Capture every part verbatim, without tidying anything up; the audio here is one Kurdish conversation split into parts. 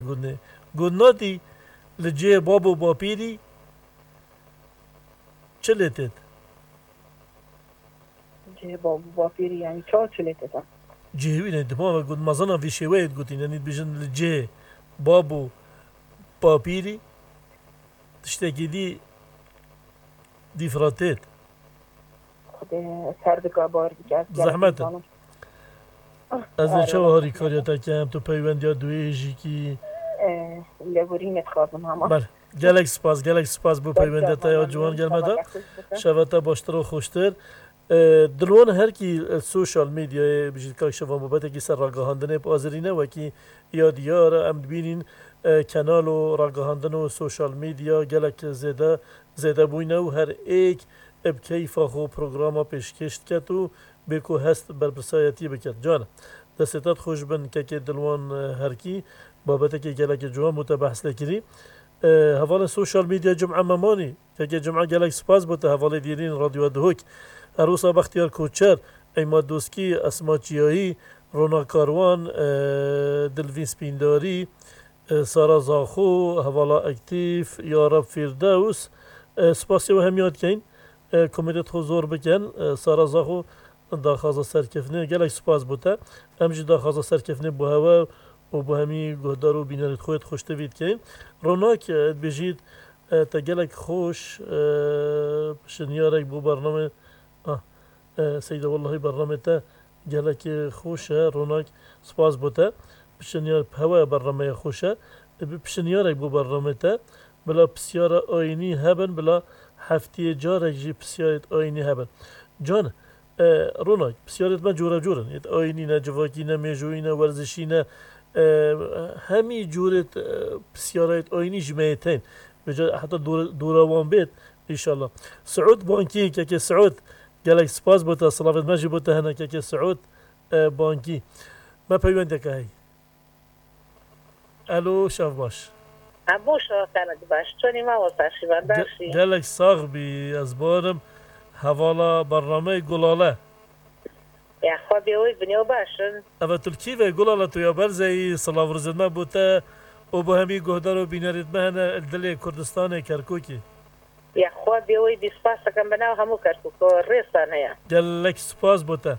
Got nê. Got nadî li cihê bab û bapîrî çi lê têt? Cihê bab û bapîrî, yanî çawa çi lê têt? Cihê wî ne, dima ve got, mezana vî şêweyê digotîn, yanî dibêjin li cihê bab û bapîrî tiştekî dî dîfra têt. Xwedê ser bika, bar bike, ez gelek Zehmet e. Zanim. Ah, Ez ê erê çawa wala harîkariya te kem, tu peywendiya duwê jî kî? Eh, lêborînê dixwazim hema. Bel, gelek spas, gelek spas bo Gelek peywendiya te ya spas, ciwan gelme da. Gelek spas. Şeva te baştir û xweştir. Eh, Dilwan herkî, eh, sosyal medyayê bijî kak şeva mubetekî ser ragihandinê bi azirîne wekî ya diyar em dibînîn, eh, kenal û ragihandin û sosyal medya gelek zêde, zêde bûyne û her êk bi keyfa xwe programa pêşkêş diket û bê ku hest berpirsayetiyê biket. Can, destê te xweş bin kekê Dilwan, e, herkî babetekê gelekê ciwan bû te behs lê kirî. E, hevalên sosyal medya Cum'e Memanî, kekê Cum'e gelek spas bo te hevalê dîrîn Radyoya Duhok. Her wisa Bextiyar Koçer, Eymad Doskî, Esma Çiyayî, Rona Karwan, e, Dilvîn Spîndarî, e, Sara Zaxo, hevala Aktîf, Yarab Fîrdews. E, spasê we hemiya dikeyin. E, komêdê xwe zor bikin. E, Sara Zaxo daxwaza serkeftinê, gelek spas bo te. Em jî daxwaza serkeftinê bo hewe û bo hemî guhdar û bînerêt xwe yêt xweştivî dikeyin. Ronak, e, dibêjît, e, te gelek xweş, e, pişinyarek bo bername-, ah, e, Seyda, wellahî bernamê te gelekî xweş e, Ronak, spas bo te. Pişinyar, hewe bernameya xweş e. E, bi pişinyarek bo bernamê te. Bila pisyara ayînî hebin, bila heftiyê carek jî pisyarêt ayînî hebin. Can, e, Ronak, pisyarêt me cure cure ne. Yêt ayînî ne, civakî ne, mêjoyî ne, werzişî ne. E, hemî curêt, e, pisyarayêt ayînî ji me yê tên. Vêca heta dor-, dora wan bêt, înşallah. Siûd Bankî, kekê Siûd, gelek spas bo te, silavêt me jî bo te hene, kekê Siûd, e, Bankî. Me peywendeke hey. Elo, şev baş. Hemû şevekenek baş. Çonî mamosta Şîvan, Ge-, baş î? Gelek sax bî, ez barim. Hevala bernameyê Gulale. Ya xwe bê wê binê û baş in. Eve tu li kî ve Gulale, tu ya berzeyî, silav rizêt me bo te û bo hemî guhdar û bînerêt me hene li dilê Kurdistanê, Kerkûkê. Ya xwe bê wê bî spas dikim bi nav hemû Kerkûk û rêsan heye. Gelek spas bo te.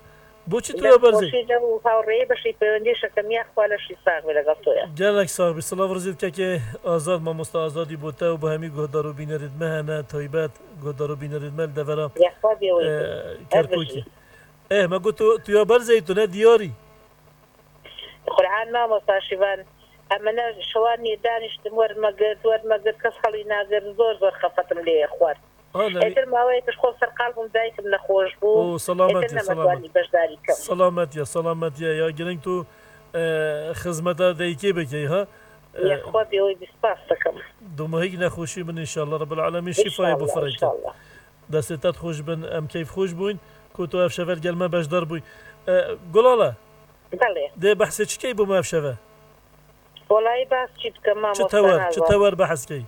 Boçî tu ya berzê? Xweşî de û hawrêyê bişî peywendî şikimiya xwe leşî sax bî legal to ya. Gelek sax bî. Silav rizêt kekê Azad, mamosta Azadî bo te û bo hemî guhdar û bînerêt me hene, taybet guhdar û bînerêt me li devera, Ya xwe bê wê e, bî. Kerkûkê. Her bijî. Eh, me got tu, tu ya berzeyî, tu ne diyarî. Qur'an mamosta Şîvan. Em ne şewan nê daniştim, wer me girt, wer me girt, kes helî nagirt, zor zor xefetim lê xwar. Ana, Êtir maweyek ji xwe ser qal bûm, daykim nexweş bû. O, selamet Êtir ya, nemetwanî selamet. Beşdarî kim. Selamet ya, selamet ya. Ya girîng tu, e, xizmeta dayikê bikey, ha? Yê E, xwe bê wê bî spas dikim. Domahîk nexweşî bin înşallah. Rabbil alemîn şîfayê İnşallah, bifireke. İnşallah. Destê te xweş bin, em keyf xweş bûyn ku tu ev şeve li gel me beşdar bûyî. E, Gulale, Belê. Dê behsê çi key bo me ev şeve? Welayî behs çi bikim, Çi mamosta tewer, çi Nazan? Tewer behs key?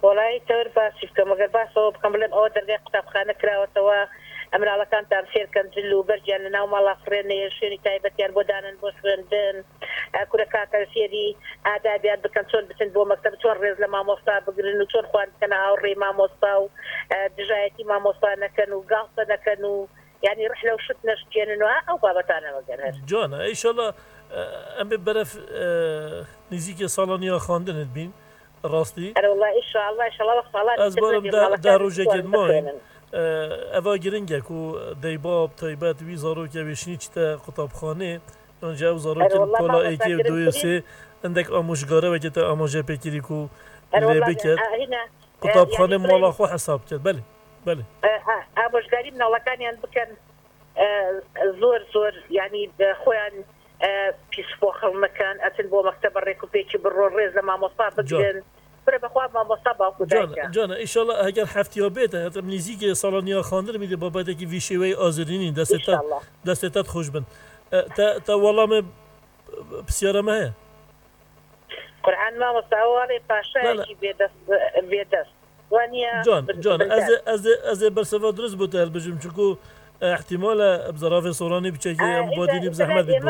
Welayî tewr behs çi bikim? Eger behs ew bikim, bilêm ew dergehê qutabxane kirawetwe, em minalekan tam fêr kin dil û berciyan li nav mala xwe rê neyên, şwênî taybetiyan bo danin, bo xwendin. E, kureka kan fêrî adabiyan bikin, çon bitin bo mekteb, çon rêz li mamosta bigirin û çon xwendikene hawrê mamosta û, e, dijayetî mamosta nekin û galte nekin û, yanî, rihle û şit neşkênin û ha ew babetane veger her. Can, e, înşallah, e, em ê beref, e, nêzîkê salaniya xwendinê dibîn, rastî. Erê, wela, înşallah, înşallah, wek salan Ez barim deh, deh rojekê dimayîn. E, eva giring e ku deybab, taybet, wî zarokê wê şinî çite qutabxanê, Ancî ew zarokên pola êkê û du û sê hindek amojgare weke te amaje pê kirî ku lê biket. Qutabxanê mala xwe hesab ket. Belê, belê. Amojgarî minalekan yan bikin, e, zor zor, yanî, e, xwe yan, e, pîs boxil nikin, etin bo mektebe rêk û pêkî biron, rêz li mamosta bigirin. Bire bi xwe mamosta bak û dayik e. Can, înşallah heger heftiya bête, hetem nêzîkê salaniya xandin mî dê babetekî vî şêweyî azirînî destê te, destê te xweş bin. E, te, te welamê pisyara me heye? Qur'an mamosta, ew walê paşayekî bêdest, bêdest. Can, can, ez ê, ez ê, ez ê berseva dirust bo te hilbijim, çunku, e, ihtimal e bi zerafê soranî biçekê, em badînî bi zehmet bî.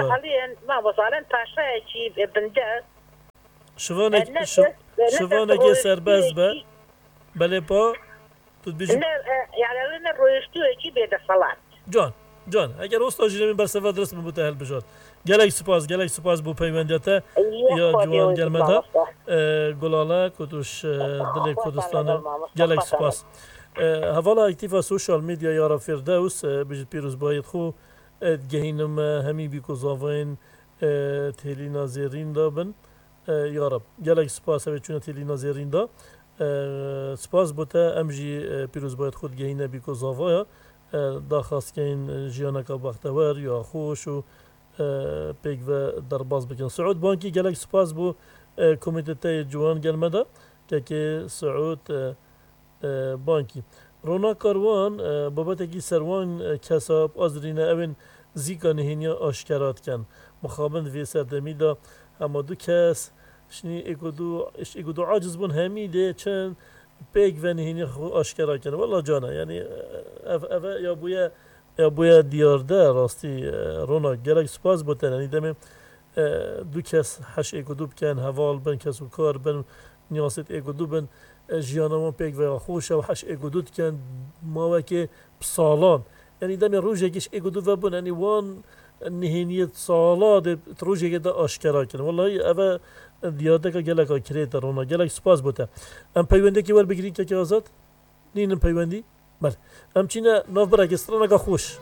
Mamosta, alen paşayekî bindest. Şivanek, Ne şi- dest- ne şivanekê dest- serbest be. Belê pa, tu dibêjî. Ne, e, yani ne rojtûyekî bêdexelat. Can, can. Eger osta jî demê bersiva dirust min bo te hilbijart. Gelek spas, gelek spas bo peywendiya te. Ya ciwan gel me da. E, Gulale, ku tu ji, e, dilê Kurdistanê. Gelek spas. E, hevala aktîfa sosyal medya Yara Firdevs, e, bijî pîrozbayê xwe, e, digehînim, e, hemî bîkozavayên, e, têlîna zêrîn de bin. E, ya Reb, gelek spas, ev ê çûne têlîna zêrîn de. E, spas bo te, em jî, e, pîrozbayê xwe digehîne bîkozavaya. E, daxwaz keyin jiyaneka bextewer ya xweş û, e, pêk ve derbas bikin. Siûd Bankî, gelek spas bo, e, komîtê te yê ciwan gel me de. Kekê Siûd, e, e, Bankî. Rona Karwan, e, babetekî ser wan, e, kesa bi azirîne ew ên zîka nihêniya aşkera dikin. Mixabin di vê serdemî de hema du kes, şinî êk û du, êk û du aciz bûn, hemî dê çin pêk ve nihêniya xwe aşkera kin. Wela cana, yanî, e, ev, ev ya bûye, ya bûye diyar de rastî, e, Rona, gelek spas bo te, yanî demê, e, du kes heş êk û du bikin, heval bin, kes û kar bin, niyasêt êk û du bin, e, jiyana wan pêk ve xweş e û heş êk û du dikin, mawekê bi salan. Yanî demê rojekê ji êk û du vebûn, yanî wan nihêniyê sala dê di rojekê de aşkera kirin. Wellahî ev e diyardeka geleka kirêt e Rona. Gelek spas bo te. Em peywendekî werbigirîn kekê Azad? Nînin peywendî? Belê. Em çîne navbirekê straneka xweş.